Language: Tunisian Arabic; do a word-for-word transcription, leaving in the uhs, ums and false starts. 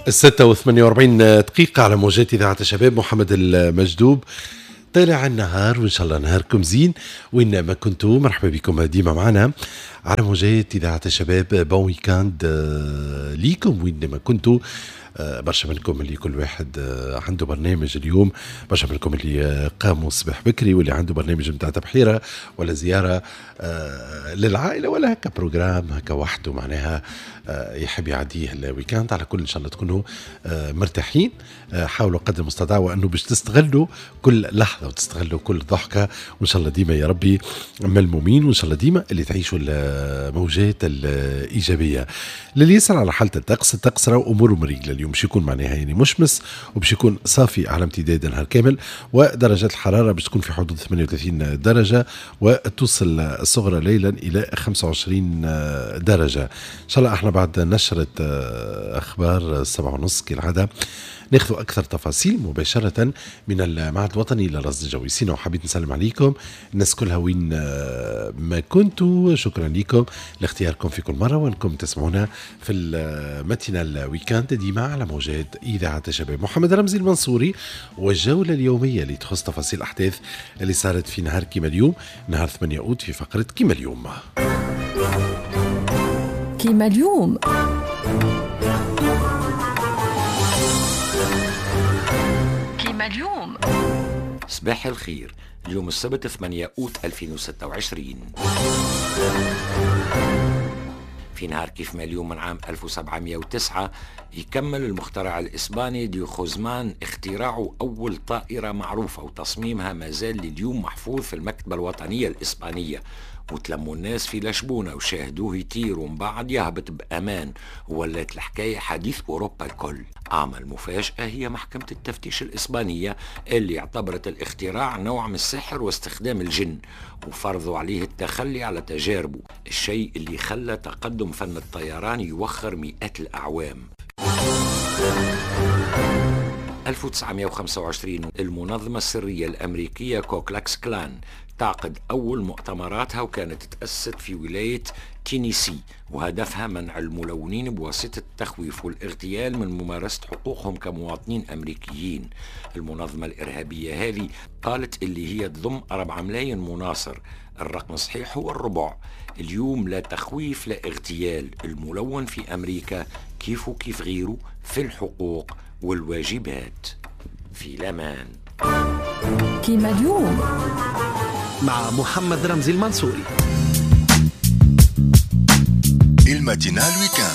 الستة وثمانية وأربعين دقيقة على موجات إذاعة الشباب. محمد المجدوب طالع النهار، وإن شاء الله نهاركم زين وين ما كنتوا. مرحبا بكم ديما معنا على موجات إذاعة الشباب. bon week-end ليكم وين ما كنتوا. برشا منكم اللي كل واحد عنده برنامج اليوم، برشا منكم اللي قاموا الصباح بكري واللي عنده برنامج متاع تبحيرة ولا زيارة للعائلة ولا هكا programme هكا وحده معناها يحب يعديه ال week-end. على كل إن شاء الله تكونوا مرتاحين. حاولوا قدر المستطاع وأنه باش تستغلوا كل لحظة وتستغلوا كل ضحكة، وإن شاء الله ديما يا ربي ملمومين، وإن شاء الله ديما اللي تعيشوا الموجات الإيجابية. للي يسأل على حالة الطقس، الطقس راهو أموره مريقلة اليوم، باش يكون معناها يعني مشمس وباش يكون صافي على امتداد النهار كامل، ودرجات الحرارة باش تكون في حدود ثمانية وثلاثين درجة وتوصل الصغرى ليلا إلى خمسة وعشرين درجة. إن شاء الله احنا بعد نشرة أخبار السبعة ونص كالعادة ناخذ أكثر تفاصيل مباشرة من المعهد الوطني للرصد الجوي. sinon حبيت نسلم عليكم الناس كلها وين ما كنتوا. شكرا لكم لاختياركم في كل مرة وأنكم تسمعونا في ال matinale week-end ديما على موجات إذاعة الشباب. محمد رمزي المنصوري والجولة اليومية اللي تخص تفاصيل الأحداث اللي صارت في نهار كيما اليوم، نهار ثمانية أوت، في فقرة كيما اليوم. كيما اليوم اليوم صباح الخير. اليوم السبت ثمانية أوت ألفين وستة وعشرين. في نهار كيف ما اليوم من عام ألف وسبعمائة وتسعة يكمل المخترع الإسباني دي خوزمان اختراعه أول طائرة معروفة، وتصميمها ما زال لليوم محفوظ في المكتبة الوطنية الإسبانية. وتلموا الناس في لشبونة وشاهدوه يطير ومن بعد يهبط بأمان، وولات الحكاية حديث أوروبا الكل. أعمل مفاجأة هي محكمة التفتيش الإسبانية اللي اعتبرت الاختراع نوع من السحر واستخدام الجن، وفرضوا عليه التخلي على تجاربه، الشيء اللي خلى تقدم فن الطيران يوخر مئات الأعوام. ألف وتسعمائة وخمسة وعشرين المنظمة السرية الأمريكية كوكلاكس كلان تعقد أول مؤتمراتها، وكانت تأسست في ولاية تينيسي، وهدفها منع الملونين بواسطة التخويف والاغتيال من ممارسة حقوقهم كمواطنين أمريكيين. المنظمة الإرهابية هذه قالت اللي هي تضم أربعة ملايين مناصر، الرقم الصحيح هو الربع. اليوم لا تخويف لا اغتيال، الملون في أمريكا كيف وكيف غيره في الحقوق والواجبات. في الأمان. كيما اليوم مع محمد رمزي المنصوري. ال matinale week-end.